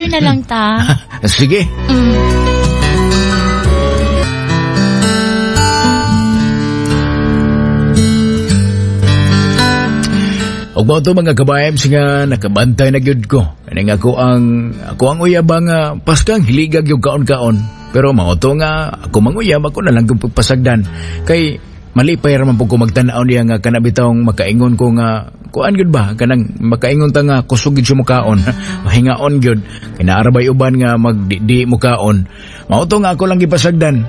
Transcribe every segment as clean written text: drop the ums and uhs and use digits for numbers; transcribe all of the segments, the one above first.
Na lang ta. Sige. Ug mao to mga ka-vibes nga nakabantay na gyud ko. Kaning ako ang uyab nga paskang hiligag yung kaon-kaon. Pero mao to nga ako manguyab, ako na lang gyud pagpasagdan. Kay malipay ra man pud ko magtan-aw niya nga kana bitawng makaingon ko nga kuan gyud ba, kanang makaingon ta nga kusog gyud siya mukaon. Mahingaon gyud kay naa ra bay uban nga magdi mukaon. Mao to nga ako lang gipasagdan.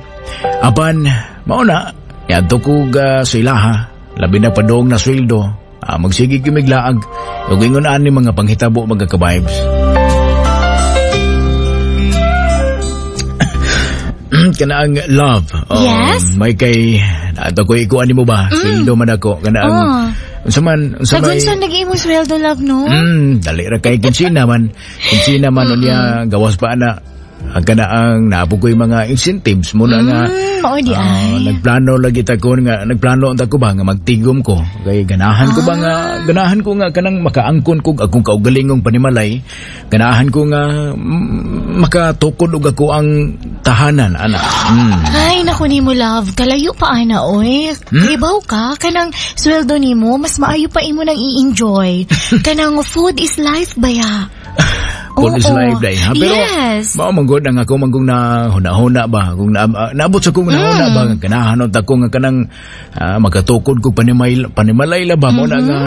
Apan mao na niadto ko ga sa ilaha, labi na padong na sweldo. Magsige kimiglaag ug ingon ani mga panghitabo mga ka-vibes. Kana ang love. Oh, Yes? May kay nato ko ikuan nimo ba? Sweldo man ako kana ang unsa man unsa may Kagunsa nag imo sweldo, love, no? Dali ra kay kinsina man. Kinsina man unya gawas pa ana. Ang kana ang naabog ko'y mga incentives mo na nga. Mao di ay. Nagplano lagi ta ko nga nagplano unta ko ba nga magtigom ko. Kay ganahan ko ba nga ganahan ko nga kanang makaangkon ko akong kaugalingong panimalay. Ganahan ko nga makatukod og ako ang tahanan ana. Ay naku nimo, love, kalayo pa ana oy. Kibaw ka kanang sweldo nimo mas maayo pa imo nang i-enjoy. Kanang food is life baya. Food is Oo. life day, ha? Pero, Yes. mao man gud ang ako man kung na huna-huna ba, kung naabot sa kong huna-huna ba, nga ganahan unta ko nga kanang makatukod ko panimalay la ba, mao na nga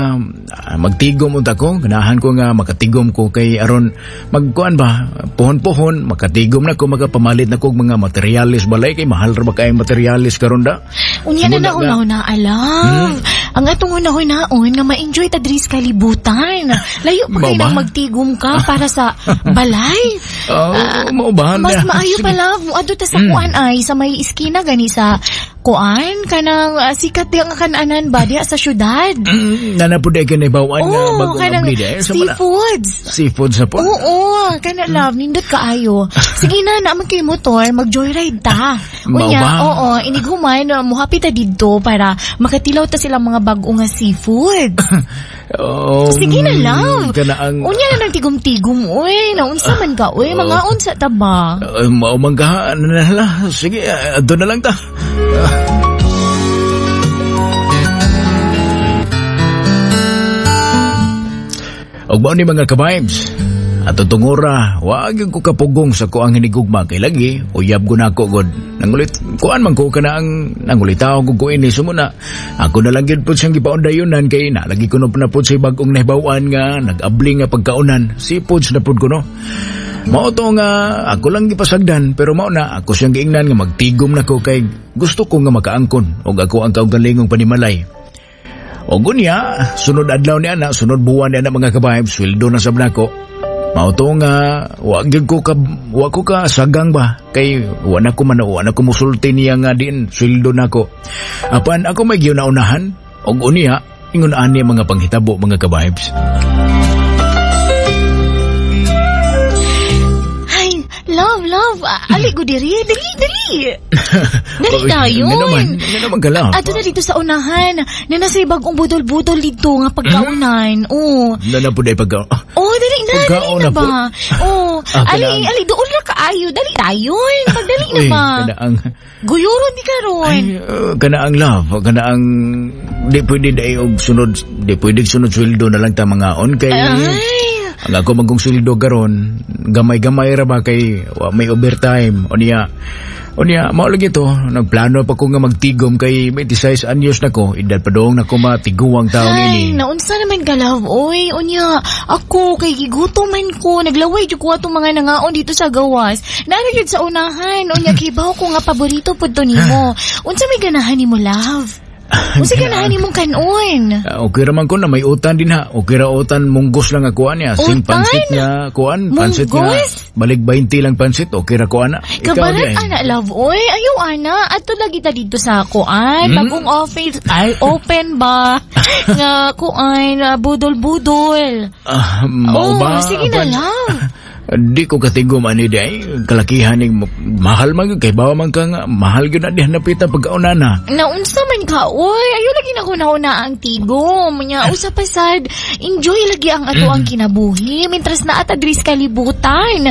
magtigom unta ko, ganahan ko nga makatigom ko kay aron magkuan ba, puhon-puhon, makatigom na ko, makapamalit na ko og mga materialis balay kay mahal ra ba kay materialis karon da. Unya na Muna na huna-huna, alam. Ang atong huna-hunaon nga ma-enjoy ta diri sa kalibutan. Layo pa kay Mao ba? nang magtigom ka para sa balay. Oh, mao ba? Mas maayo pa, love. Muadto ta sa kuan ay sa may iskina gani sa kuan kanang sikat di ang kananan ba diha sa syudad. Nana po dahil kanibawan nga Oo, bagong kanang abli dahil. Sa mana- seafoods. Seafood sa po. Oo, kana love, nindot kaayo. Sige na, naman kay motor, mag-joyride ta. Mao Unya, ba? oo, inighuman, muhapi ta didto para makatilaw ta silang mga bag-o nga seafood. Oh, Sige na, love. Kana ang Unya na nang tigom-tigom, uy. Naunsa man ka, uy. Mga unsa ta ba? Mao man ka, ano na lang. Sige, doon na lang ta. Og mao ni mga ka-vibes. Ato tungura, wag yung ko kapugong sa kuang hinigugma kay lagi, uyab ko na ako god. Nangulit, kuan man ko kana ang nangulitaw ko ko ini sumuna. Ako na lang gyud pud siyang gipaundayunan kay nalagi ko na pud sa bag-ong nahibaw-an nga nag-abli nga pagkaunan. Seafoods na pud ko no. Mao to nga ako lang gipasagdan pero mao na ako siyang giingnan nga magtigom na ko kay gusto ko nga makaangkon og ako ang kaugalingong panimalay. Og unya, sunod adlaw ni ana, sunod buwan ni ana mga ka-vibes, sweldo na sab nako. Mao to nga wa gyud ko ka wa ko ka sagang ba kay wa na ko man wa na ko musulti niya nga din sweldo nako. Apan ako may giuna-unahan og unya ingon ani mga panghitabo mga ka-vibes. Ay, love, love. Ali ko diri. Dali, dali. Dali tayo. Nga naman ka, love. Ato na dito sa unahan. Na nasa bagong budol-budol dito nga pagkaunan. Oo. Na na po dahil pagka... Oh, dali na, dali Pagkaon na na ba? po. Oh, ali, kanang- ali, doon na kaayo. Dali tayo. Pagdali na Uy, ba? kanaang... Guyuro di karon. Ay, kanaang love, kanaang di pwede dai og sunod, di pwede sunod sweldo na lang ta mangaon kay Ay. ang ako magong sweldo karon, gamay-gamay ra ba kay wa may overtime. Unya mao lagi to, nagplano pa ko nga magtigom kay 26 anyos na ko, edad pa dong na ko matiguang taon Ay, ini. naunsa naman ka, love, oy. Unya, ako, kay giguto man ko, naglaway jud ko atong mga nangaon dito sa gawas. Naa gyud sa unahan, unya, kibaw ko nga paborito pud to nimo. Unsa may ganahan nimo, love? Unsa ganahan nimong kanon? Okay ra man ko na may utan din ha. Okay ra utan munggos lang ako niya. Sing Utan? pansit niya kuan, pansit niya. Munggos? Balik 20 lang pansit, okay ra ko ana. Ikaw Kabarat di ay. ana, love, oy. Ayaw ana, ato lagi ta dito sa kuan. Bagong office, ay open ba? Nga kuan, budol-budol. Mao Oh, ba? sige na Apan- lang. Di ko katigom ani di ay kalakihan ning mahal man gyud kay bawa man ka nga mahal gyud na diha napita pagkaunana. Naunsa man ka, oy, ayo lagi na ko nauna ang tigom. Nya, usa pa sad, enjoy lagi ang ato ang kinabuhi, mintras na at diri sa kalibutan.